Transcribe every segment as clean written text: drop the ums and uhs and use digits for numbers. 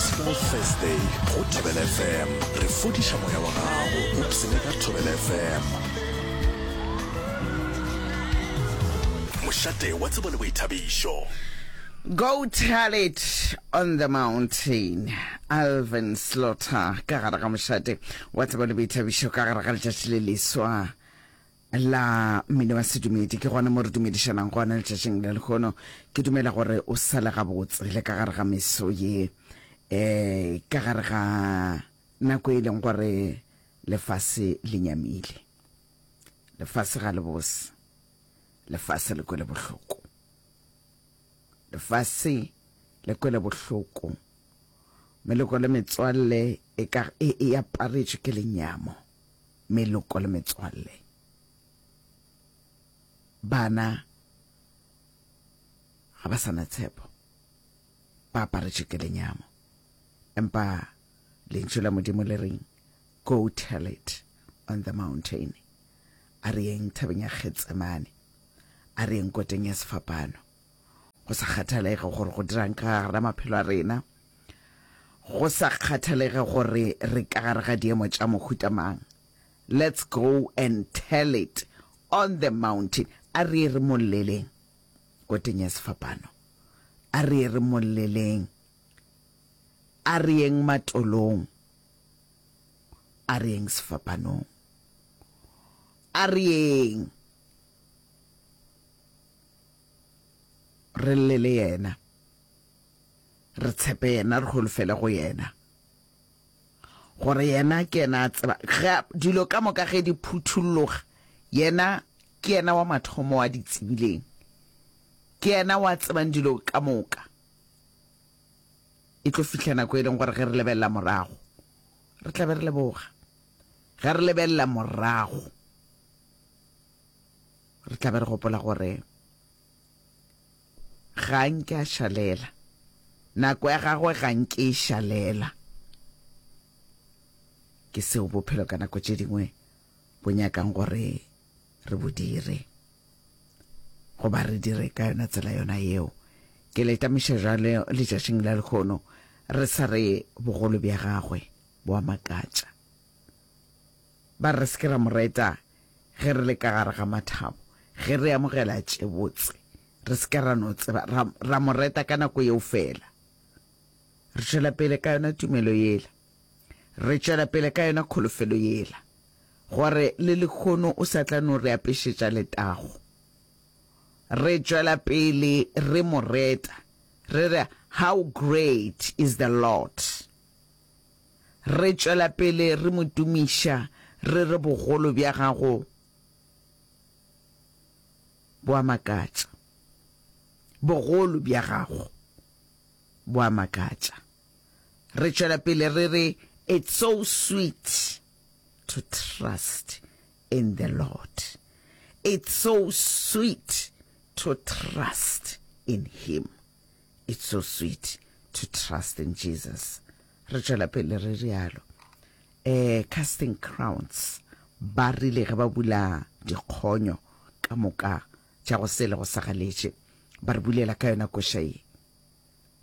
Gospel Thursday go Thobela FM. Re fodiša moya wa gago. Upsene ka Thobela FM. Mošate wa tsebo le boithabišo. Go tell it on the mountain. Alvin Slaughter ka gare ga mošate wa tsebo le boithabišo ka gare ga letšatši le leswa la mmino wa sedumedi. Ke gona mo re dumedišanang gona letšatšing la lehono. Ke dumela gore o sale gabotse le ka gare ga meso ye, um ka gare ga nako e leng gore lefase le nyamile. Lefase ga le bose, lefase le kwele bohloko, lefase le kwele bohloko. Meloko le metswalle e ka e, e aparetšwe ke lenyamo. Meloko le metswalle. Bana ga ba sa na tshepo, ba aparetšwe ke lenyamo. Empa Lentšu la Modimo le reng? Go tell it on the mountain. A re yeng thabeng ya Getsemane. A re yeng koteng ya sefapano. Go sa kgathalege gore go dirang ka gare ga maphelo a rena, go sa kgathalege gore re ka gare ga diemo tša mohuta mang, let's go and tell it on the mountain. A re ye re mo lleleng koteng ya sefapano. A re ye re mo lleleng. A re yeng matolong. A re yeng sefapanong. A re yeng. Re lle le yena. Re tshepe yena, re holofele go yena. Gore yena ke yena a tseba ge dilo ka moka ge di phutholloga, yena ke yena wa mathomo wa di tsebileng. Ke yena wa tsebang dilo ka moka. E tlo fihla nako e leng gore ge re lebelela morago, re tla be re leboga. Ge re lebelela morago, re tla be re gopola gore ga nke a šalela. Nako ya gagwe ga nke e šalela. Ke seo bophelo ka nako tše dingwe bo nyakang gore re bo dire, goba re dire ka yona tsela yona yeo. Ke le tamiša jwale letšatšing la lehono, re sa re bogolo bja gagwe bo a makatša. Ba re re se ke ra mo reta ge re le ka gare ga mathabo, ge re amogela tše botse, re se ke ra no tseba, ra, ra mo reta ka nako yeo feela. Re tšwela pele ka yona tumelo yela. Re tšwela pele ka yona kholofelo yela, gore le lehono o sa tla no re apešetša letago. Re tšwela pele re mo reta, re re, How great is the Lord! Re tšwela pele re mo tumiša, re re bogolo bja gago bo a makatša. Bogolo bja gago bo a makatša. Re tšwela pele re re it's so sweet to trust in the Lord. It's so sweet to trust in him. It's so sweet to trust in Jesus. Re tšwela pele re rialo. Eh, Casting Crowns ba rile ge ba bula dikgonyo ka moka tša go sele go sagaletše, ba re bulela ka yona koša ye.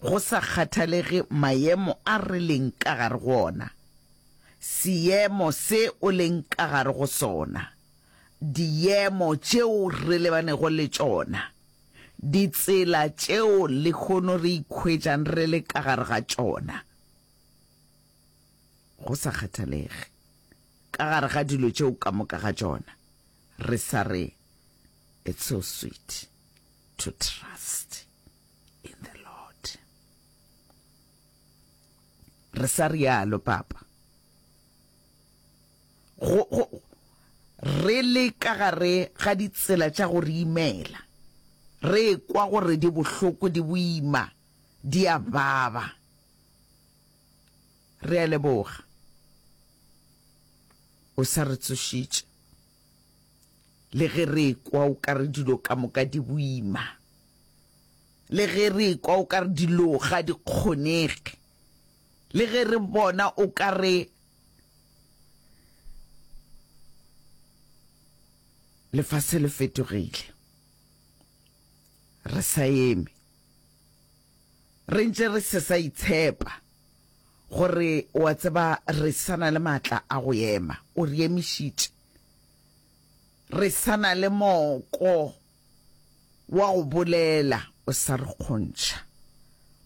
Go sa kgathalege maemo a re leng ka gare go ona, seemo se o leng ka gare go sona, diemo tšeo re lebanego le tšona, Ditsela tšeo lehono re ikhwetšang re le ka gare ga tšona, go sa kgathalege, ka gare ga dilo tšeo ka moka ga tšona, re sa re, It's so sweet to trust in the Lord. Re sa rialo, Papa. Go, go, re le ka gare ga ditsela tša go re imela, re ekwa gore di bohloko, di boima, di a baba. Re a leboga. O sa re tsošitše. Le ge re ekwa o ka re dilo ka moka di boima, le ge re ekwa o ka re dilo ga di kgonege, le ge re bona o ka re Lefase le fetogile. Re sa eme. Re ntše re se sa itshepa. Gore, o a tseba, re sa na le maatla a go ema. O re emišitše. Re sa na le moko wa go bolela, o sa re kgontšha.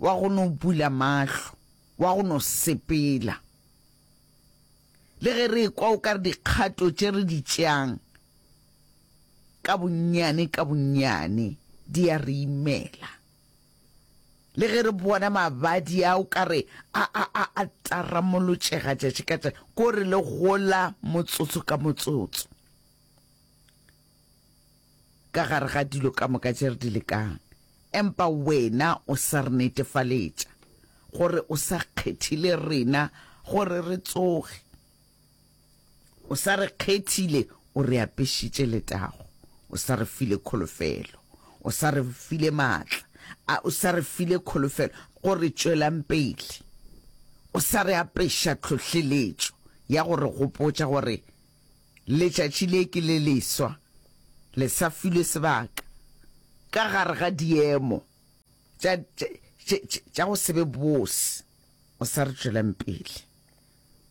Wa go no bula mahlo, wa go no sepela. Le ge re ekwa o ka re dikgato tše re di tšeang ka bonnyane ka bonnyane di a re imela. Le ge re bona mabadi a o ka re a, a, a, a taramolotšega tšatši ka tšatši, ko re le gola motsotso ka motsotso ka gare ga dilo ka moka tše re di lekang. Empa wena o sa re netefaletša gore o sa kgethile rena gore re tsoge. O sa re kgethile, o re apešitše letago, o sa re file kholofelo, o sa re file maatla, a o sa re file kholofelo go re tšwelang pele. O sa re apeša tlhohleletšo ya go re gopotša gore letšatši le ke le leswa, le sa filwe sebaka ka gare ga diemo tša, tša, tša, tša go se be bose. O sa re tšwelang pele.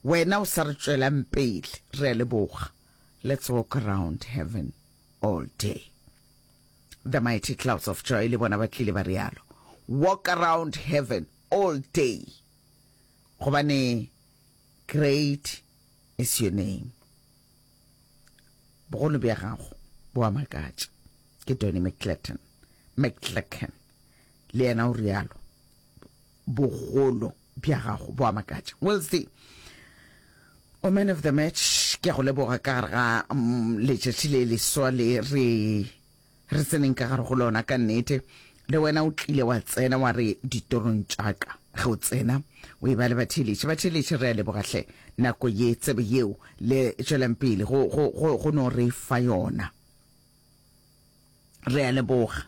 Wena o sa re tšwelang pele, re a leboga. Let's walk around heaven all day. The mighty clouds of joy le bona ba tlile ba rialo. Walk around heaven all day. Gobane great is your name. Bogolo bja gago bo a makatša. Ke Donny McClatton. McClacken. Le yena o rialo. Bogolo bja gago bo a makatša. Wilsey, o man of the match, ke a go leboga ka gare ga mm, letšatši le leswa le re re tseneng ka gare go lona ka nnete. Le wena o tlile wa tsena wa re ditorong tša ka ge o tsena o e ba le batheeletši. Batheeletši re a leboga hle nako ye tsebe yeo le tšwelang pele go, go, go, go no re fa yona. Re a leboga.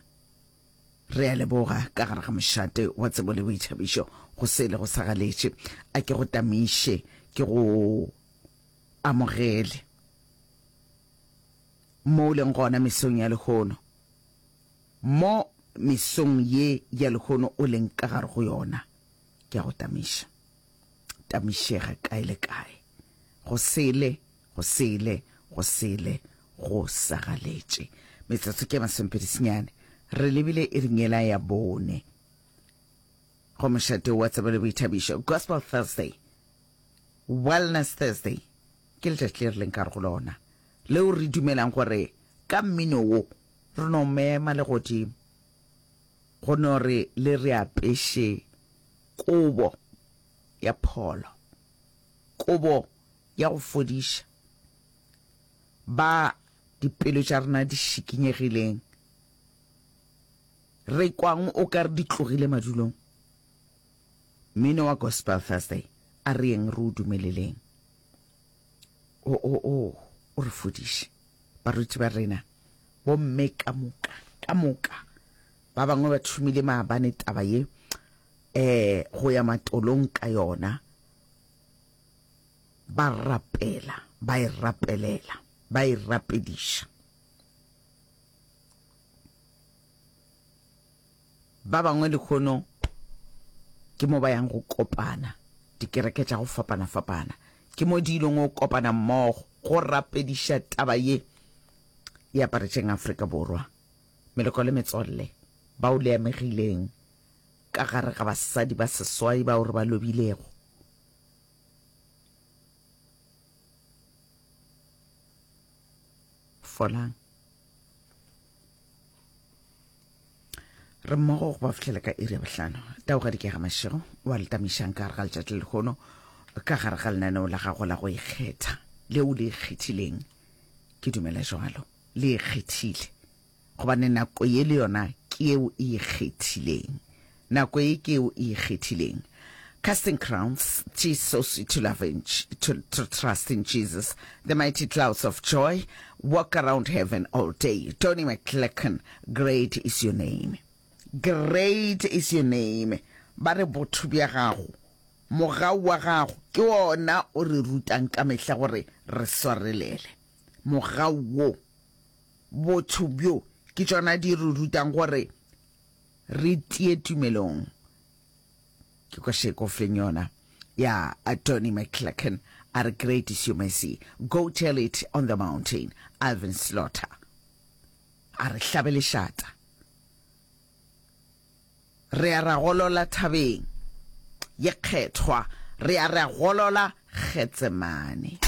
Re a leboga ka gare ga mošate wa tsebo le boithabišo go se le go sa galetše. A ke go tamiše, ke go amogele mo o leng gona mesong ya lehono, mo mesong ye ya lehono o leng ka gare go yona. Ke a go tamiša. Tamišega kae le kae. Go sele Go sele, go sele, go sagaletše. Metsotso ke masomepedi senyane. Re lebile iring yela ya bone. Go mošate wa tsebo le boithabišo. Gospel Thursday. Wellness Thursday. Ke letšatši le re leng ka go lona. Leo re dumelang gore ka mmino wo re no mema le godimo. Go no re le re apeše kobo ya pholo. Kobo ya go fodiša ba dipelo tša rena di šikinyegileng, re kwang o ka re di tlogile madulong. Mmino wa Gospel Thursday, a re yeng re o dumeleleng o, o, o, o re fodiše. Baruti ba rena, bomme ka moka, ka moka, ba bangwe ba thomile maabane taba ye, eh, go ya matolong ka yona. Ba rapela, ba e rapelela, ba e rapediša. Ba bangwe lehono ke mo ba yang go kopana, dikereke tša go fapana-fapana, ke mo di ilong go kopana mmogo go rapediša taba ye e aparetšeng Afrika Borwa. Meloko le metswalle bao le amegileng ka gare ga basadi ba seswai bao re ba lobilego. Folang. Re mmogo go ba fihlela ka iri ya bohlano. Taugadi ke ga Mašego wa le tamišang ka gare ga letšatši le lehono ka gare ga lenaneo la gago la go ikgetha leo le ikgethileng. Ke dumela jwalo, le ikgethile. Gobane nako ye le yona ke yeo e ikgethileng. Nako ye ke yeo e ikgethileng. Casting Crowns, 'Tis So Sweet to Love in, to, to Trust in Jesus, The Mighty Clouds of Joy, Walk Around Heaven All Day, Donnie McClurkin, Great Is Your Name. Great is your name. Ba re botho bja gago, mogau wa gago ke wona o re rutang ka mehla gore re swarelele. Mogau wo. Botho bjo ke tšona di re rutang gore re tie tumelong. Ke kwa Sheko Fleng yona. Ya Donny McClurkin a re Great is your mercy, go tell it on the mountain, Alvin Slaughter a re hlabe lešata. Re a ra golola thabeng ye kgethwa, re a ra golola Getsemane.